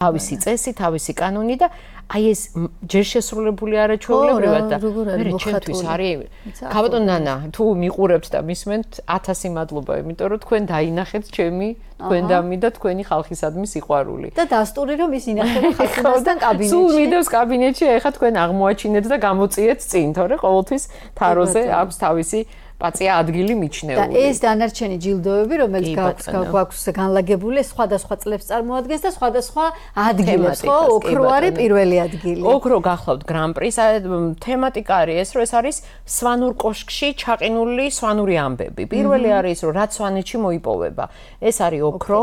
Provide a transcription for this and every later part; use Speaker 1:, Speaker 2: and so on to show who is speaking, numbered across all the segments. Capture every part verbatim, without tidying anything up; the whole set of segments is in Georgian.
Speaker 1: თავისი წესი, თავისი კანონი და აი ეს ჯერ შესრულებული არაჩვეულებრივად და მე ჩემთვის არის ქაბატონ ნანა თუ მიყურებთ და მისმენთ ათასი მადლობა, იმიტომ რომ თქვენ დაინახეთ ჩემი თქვენდამი და თქვენი ხალხისადმი სიყვარული.
Speaker 2: და დასტური რომ ის ინახება ხალხისგან კაბინეტში.
Speaker 1: სულ მიდევს კაბინეტში, ეხლა თქვენ აღმოაჩინეთ და გამოწიეთ წინ, თორე ყოველთვის თაროზე აქვს თავისი პაცია ადგილი მიჩნეული.
Speaker 2: და ეს დანარჩენი ჯილდოები, რომელიც გვაქვს განლაგებული, სხვადასხვა წლებს წარმოადგენს და სხვადასხვა ადგილებს, ხო? ოქრო არის პირველი ადგილი.
Speaker 1: ოქრო გახლავთ გრან-პრის, თემატიკა არის ეს, რომ ეს არის სვანურ კოშკში ჩაყინული სვანური ამბები. პირველი არის ის, რომ რაც სვანეთში მოიპოვება. ეს არის ოქრო,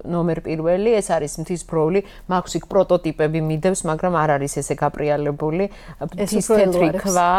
Speaker 1: ნომერ პირველი, ეს არის მთის ბროლი, მაქვს იქ პროტოტიპები მიდევს, მაგრამ არ არის ესე გაპრიალებული. მთის თეთრი ქვა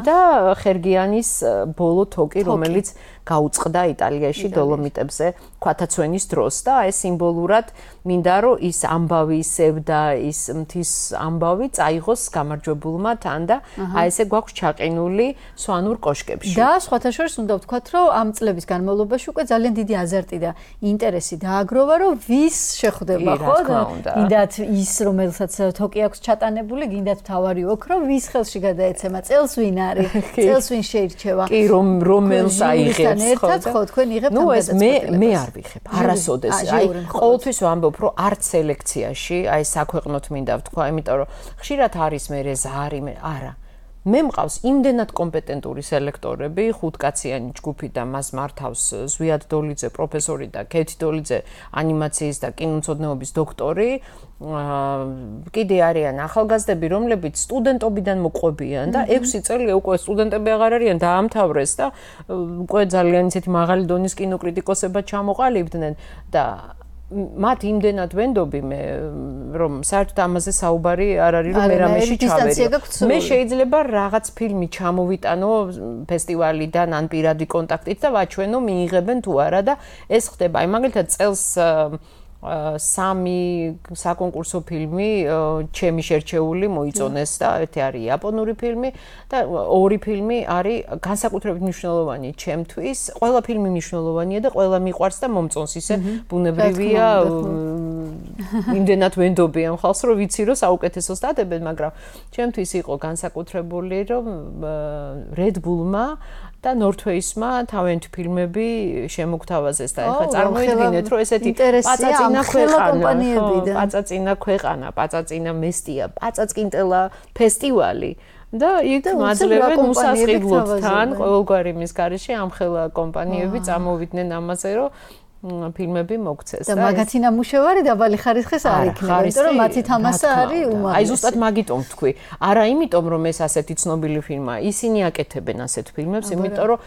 Speaker 1: და ხერგიანის ბოლო თოკი, რომელიც გაუწყდა იტალიაში დოლომიტებზე ქვათაცვენის დროს და ეს სიმბოლურად მინდა რომ ის ამბავი ისევ და ის მთის ამბავი წაიღოს გამარჯვებულმა თან და აი ესე გვაქვს ჩაყინული სვანურ კოშკებში.
Speaker 2: და სხვათა შორის უნდა ვთქვათ, რომ ამ წლების განმავლობაში უკვე ძალიან დიდი აზარტი და ინტერესი დააგროვა, რომ ვის შეხვდება, ხო? გინდათ ის, რომელსაც თოკი აქვს ჩატანებული, გინდათ თავარი ოქრო, ვის ხელში გადაეცემა, წელს ვინ არის, წელს ვინ შეირჩევა.
Speaker 1: კი, რომ რომელს აიღებს
Speaker 2: ერთად ხო თქვენ იღებთ ამ
Speaker 1: გადაწყვეტილებას. ნუ ეს მე მე არ ვიღებ. არასოდეს. აი ყოველთვის ვამბობ, რომ არც სელექციაში, აი საქვეყნოთ მინდა ვთქვა, იმიტომ რომ ხშირად არის მე ზარი, მე არა. მე მყავს იმდენად კომპეტენტური სელექტორები, ხუთკაციანი ჯგუფი და მას მართავს ზვიად დოლიძე, პროფესორი და კეთი დოლიძე, ანიმაციის და კინომცოდნეობის დოქტორი. კიდე არიან ახალგაზრდები, რომლებიც სტუდენტობიდან მოყვებიან და ექვსი წელი უკვე სტუდენტები აღარ არიან, დაამთავრეს და უკვე ძალიან ისეთი მაღალი დონის კინოკრიტიკოსებად ჩამოყალიბდნენ და მათ იმდენად ვენდობი მე რომ საერთოდ ამაზე საუბარი არ არის რომ მე რამეში ჩავერიო. მე შეიძლება რაღაც ფილმი ჩამოვიტანო ფესტივალიდან ან პირადი კონტაქტით და ვაჩვენო მიიღებენ თუ არა და ეს ხდება. აი მაგალითად წელს სამი საკონკურსო ფილმი ჩემი შერჩეული მოიწონეს და ერთი არის იაპონური ფილმი და ორი ფილმი არის განსაკუთრებით მნიშვნელოვანი ჩემთვის. ყველა ფილმი მნიშვნელოვანია და ყველა მიყვარს და მომწონს ისე ბუნებრივია. იმდენად ვენდობი ამ ხალხს რომ ვიცი რომ საუკეთესოს დადებენ, მაგრამ ჩემთვის იყო განსაკუთრებული რომ Red Bull-მა და North-Face-მა თავიანთი ფილმები შემოგთავაზეს და ეხლა წარმოიდგინეთ რომ ესეთი პაწაწინა ქვეყანა, პაწაწინა ქვეყანა, პაწაწინა მესტია, პაწაწკინტელა ფესტივალი და იქ მაძლევენ უსასყიდლოდთან ყოველგვარი მის გარეშე ამხელა კომპანიები წამოვიდნენ ამაზე რომ ფილმები მოგცეს.
Speaker 2: და მაგათი ნამუშევარი დაბალი ხარისხის არ იქნება, იმიტომ რომ მათი თამასა არის უმაღლესი.
Speaker 1: აი ზუსტად მაგიტომ ვთქვი. არა იმიტომ რომ ეს ასეთი ცნობილი ფილმაა, ისინი აკეთებენ ასეთ ფილმებს, იმიტომ რომ